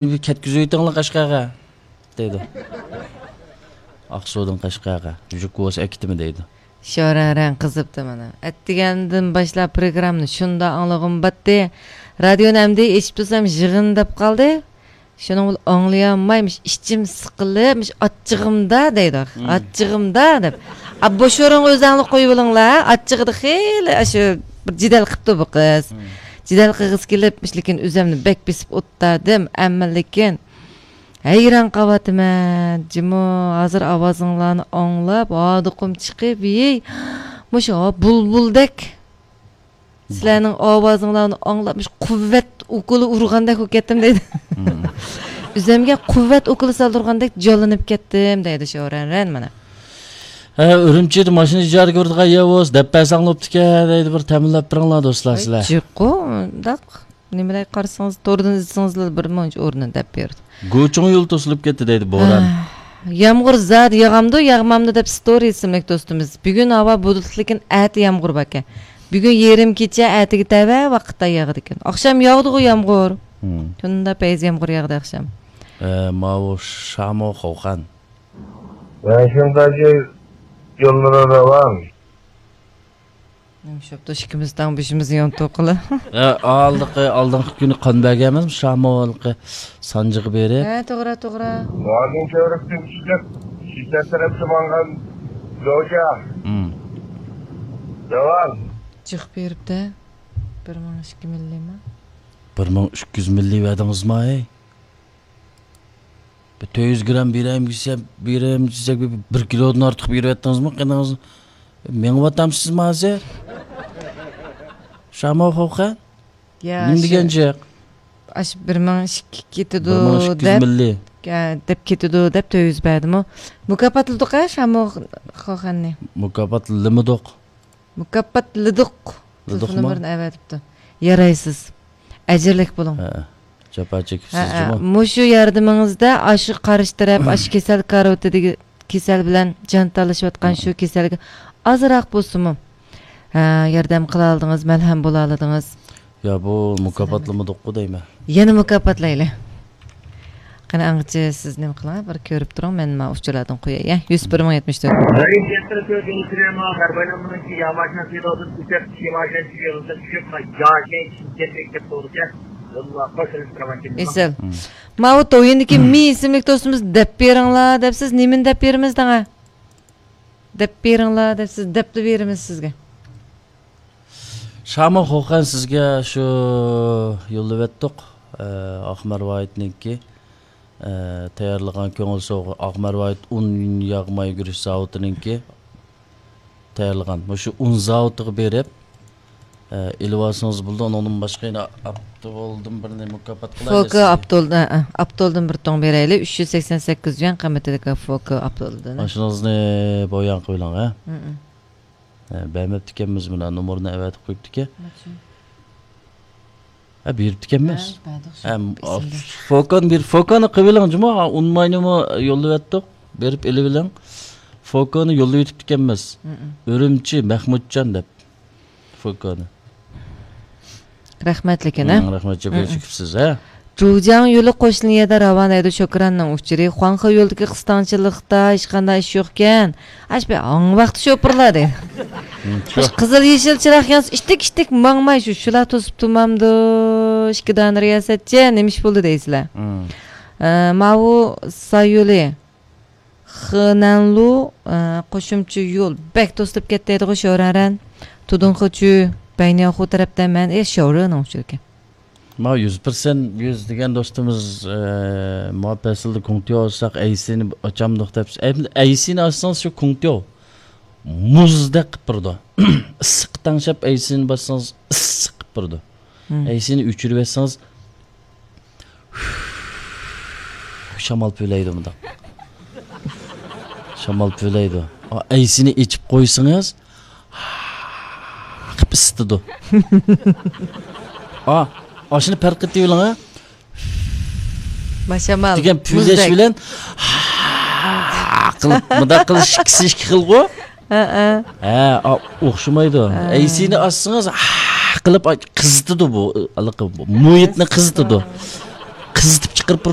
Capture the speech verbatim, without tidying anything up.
كەتكۈزۈۋېتىڭلار قەشقەرگە، دەيدۇ. ئاقسۇدىن قەشقەرگە يۈك بولسا ئەكېتىمەن، دەيدۇ. شورەڭرەڭ قىزىپتۇ مانا. ئەتىگەندىن باشلاپ پروگراممىنى شۇنداق ئاڭلىغۇم باتتى. رادىيونى ئەمدى ئېچىپ تۇرسام، يىغىن دەپ قالدى. شۇنىڭ بىلەن ئاڭلىيالماي، مۇشۇ ئىچىم سىقىلىپ، مۇشۇ ئاچچىقىمدا دەيدۇ. مم. ئاچچىقىمدا دەپ. ئا، بوش ئورۇنغا ئۆزەڭلار قويۇۋېلىڭلار. ئاچچىقىدا خېلى ئاشۇ بىر جېدەل قىپتۇ بۇ قىز. مم. جېدەل قىلغۇسى كېلىپ، لېكىن ئۆزەمنى بەك بېسىپ ئولتۇردۇم. ئەمما لېكىن ھەيران قاۋاتىمەن. جۇمۇ، ھازىر ئاۋازىڭلارنى ئاڭلاپ، ھاردۇقۇم چىقىپ، ۋىي، مۇشۇ بۇلبۇلدەك. سىلەرنىڭ ئاۋازىڭلارنى ئاڭلاپ، مۇشۇ قۇۋۋەت ئوكۇلى ئۇرغاندەك بولۇپ كەتتىم، دەيدۇ. مم. ئۆزەمگە قۇۋۋەت ئوكۇلى سالدۇرغاندەك جانلىنىپ كەتتىم، دەيدۇ شورەنرەن مانا. ھە، ئۈرۈمچىدە ماشىنا ئىجارىگە بېرىدىغان يەر بولسا دەپ بەرسەڭلار بوپتىكەن، دەيدۇ، بىر تەمىنلەپ بېرىڭلار دوستلار سىلەر. جىققۇ، ئۇنداق نېمىلەرگە قارىسىڭىز، توردىن ئىزدىسىڭىزلا بىر مۇنچە ئورنىنى دەپ بېرىدۇ. گۇچۇڭ يول توسۇلۇپ كەتتى دەيدۇ، بوران. ھە، يامغۇر زادى ياغامدۇ، ياغمامدۇ دەپ ستورى ئىسىملىك دوستىمىز. بۈگۈن ھاۋا بۇلۇتلۇق، لېكىن ئەتە يامغۇر باركەن. بۈگۈن يېرىم كېچە، ئەتىگە تەۋە ۋاقىتتا ياغىدىكەن. ئاخشام ياغدىغۇ يامغۇر. ھىم. تۈندە پەيز يامغۇر ياغدى ئاخشام. ئە، ماۋۇ شامۇ خوخەن. ۋە شۇنداق يوللىرى راۋان. نېمە شوپتۇ ئىككىمىز تاڭ بېشىمىزنى يانتۇ قىلىپ. ئە، ئالدىقى، ئالدىنقى كۈنى قان بەرگەنمىز، شامۇ ھېلىقى سانجىغا بېرىپ. ھە، توغرا، توغرا. مۇئەللىم كۆۋرۈكتىن چۈشۈپ، شىشە تەرەپكە ماڭغان گوجا. ھىم. داۋام. جىق بېرىپتە. بىر مىڭ ئىككى مىللىما؟ بىر مىڭ ئىككى يۈز مىللى بەردىڭىزما، ھەي؟ بىر تۆت يۈز گرام بېرەيمىز دېسەك، بېرەيمىز دېسەك، بىر، بىر كىلودىن ئارتۇق بېرىۋەتتىڭىزمۇ؟ قېنىڭىز مېڭىۋاتامسىزمۇ ھازىر؟ شامال خوخەن؟ يا، نېمە شۇ دېگەن جىق؟ ئاشۇ بىر مىڭ ئىككى كېتىدۇ بىر مىڭ ئىككى يۈز دەپ، مىللى. يا، دەپ كېتىدۇ دەپ تۆت يۈز بەردىمۇ؟ مۇكاپاتلىدۇق ھە شامال خوخەننى. مۇكاپاتلىمىدۇق. مۇكاپاتلىدۇق. لىدۇقما؟ تېلېفون نومۇرىنى ئەۋەتىپتۇ. يارايسىز. ئەجىرلىك بولۇڭ. ھە، جاپا چېكىپسىز ھە، جۇمۇ. مۇشۇ ياردىمىڭىزدە ئاشۇ قارشى تەرەپ، ئاشۇ كېسەل كارىۋىتىدىكى كېسەل بىلەن جان تالىشىۋاتقان شۇ كېسەلگە ئازراق بولسىمۇ، ھە، ياردەم قىلالىدىڭىز، مەلھەم بولالىدىڭىز. يا، بۇ مۇكاپاتلىمىدۇققۇ دەيمەن. يەنە مۇكاپاتلايلى. قېنى، ئاڭغىچە سىز نېمە قىلىڭ، بىر كۆرۈپ تۇرۇڭ، مەن مانا ئۇچۇرلاردىن قوياي، يا، يۈز بىر مىڭ يەتمىش تۆت. ئېسىل. ماۋۇ تويىندىكى مى ئىسىملىك دوستىمىز دەپ بېرىڭلار دەپسىز، نېمىنى دەپ بېرىمىز دەڭە؟ دەپ بېرىڭلار دەپسىز، دەپلا بېرىمىز سىزگە. شاما خوخەن سىزگە شۇ يوللىۋەتتۇق. ئە، ئاقمار ۋايىتنىڭكى، ئە، تەييارلىغان كۆڭۈل سوۋغا، ئاقمار ۋايىت ئۇن ياغماي گۈرۈچ زاۋۇتىنىڭكى تەييارلىغان. مۇشۇ ئۇن زاۋۇتىغا بېرىپ، ئە، ئېلىۋالسىڭىز بولىدۇ. ئۇنىڭدىن باشقا يەنە ئاپتولدىن بىرنى مۇكاپات قىلايلى فوكا سىزگە. ئاپتول، ئە، ئە، ئاپتولدىن بىر توڭ بېرەيلى. ئۈچ يۈز سەكسەن سەككىز يۈەن قىممىتىدىكى فوكا ئاپتولدىن. ماشىنىڭىزنى بوياڭ قىلىۋېلىڭ، ھە؟ ھە، بەرمەپتىكەنمىز، مانا نومۇرىنى ئەۋەتىپ قويۇپتىكەن. ھە، بېرىپتىكەنمىز. ھە، بەردۇق شۇ ھە، ئېسىمدە. فوكان بېر-، فوكاننى قىلىۋېلىڭ جۇمۇ، ئۇنماينىمۇ يوللىۋەتتۇق، بېرىپ ئېلىۋېلىڭ. فوكاننى يوللىۋېتىپتىكەنمىز. ئۈرۈمچى، مەخمۇتجان دەپ. فوكاننى. رەھمەتلىكىن، ھە؟ ھىم، رەھمەت، جاپا چېكىپسىز، ھە؟ جۇجياڭ يولى قوشنا يەردە راۋان ھەيدەش شوكراننىڭ ئۇچۇرى. خۇاڭخې يولىدىكى قىستاڭچىلىقتا ھېچقانداق ئىش يوقكەن. ئاش بە ھاڭ ۋاقتى شوپۇرلار دەيدۇ. ھىم، شۇ. مۇشۇ قىزىل يېشىل چىراغ يانسا ئىتتىك ئىتتىك ماڭماي شۇ شۇلا توسۇپ تۇرمامدۇ؟ ئىككى دانە رىياسەتچى نېمە ئىش بولدى دەيسىلەر؟ ھىم. ئە، ماۋۇ سايولى. خېنەنلۇ، ئە، قوشۇمچە يول بەك توسۇلۇپ كەتتى دەيدىغۇ شورەنرەن. تۇدۇڭخېچۈ، بەينياخۇ تەرەپتە مەن، ئە، شورېنىڭ ئۇچۇرىكەن. ما يۈز پىرسەنت يۈز دېگەن دوستىمىز، ئە، ما پەسىلدە كۇڭتيو ئالساق، ئەيسىنى ئاچامدۇق دەپ. ئەي-، ئەيسىنى ئاچسىڭىز شۇ كۇڭتيو مۇزدەك قىپ بېرىدۇ. ئىسسىققا تەڭشەپ ئەيسىنى باسسىڭىز ئىسسىق قىپ بېرىدۇ. ھىم. ئەيسىنى ئۆچۈرۈۋەتسىڭىز، شامال پۈۋلەيدۇ مۇنداق. شامال پۈۋلەيدۇ. ئا، ئەيسىنى ئېچىپ قويسىڭىز، قىپ ئىسسىتىدۇ. ئا، ئاشۇنى پەرق ئېتىۋېلىڭ، ھە؟ ما شامال، دېگەن پۈۋلەش مۇزدەك. بىلەن قىلىپ، مۇنداق قىلىش ئىككىسى ئىككى خىلغۇ. ھە، ھە. ھە، ئا، ئوخشىمايدۇ. ھە. ئەيسىنى ئاچسىڭىز، قىلىپ قىزىتىدۇ بۇ، ھېلىقى مۇھىتنى قىزىتىدۇ. قىزىتىپ چىقىرىپ بىر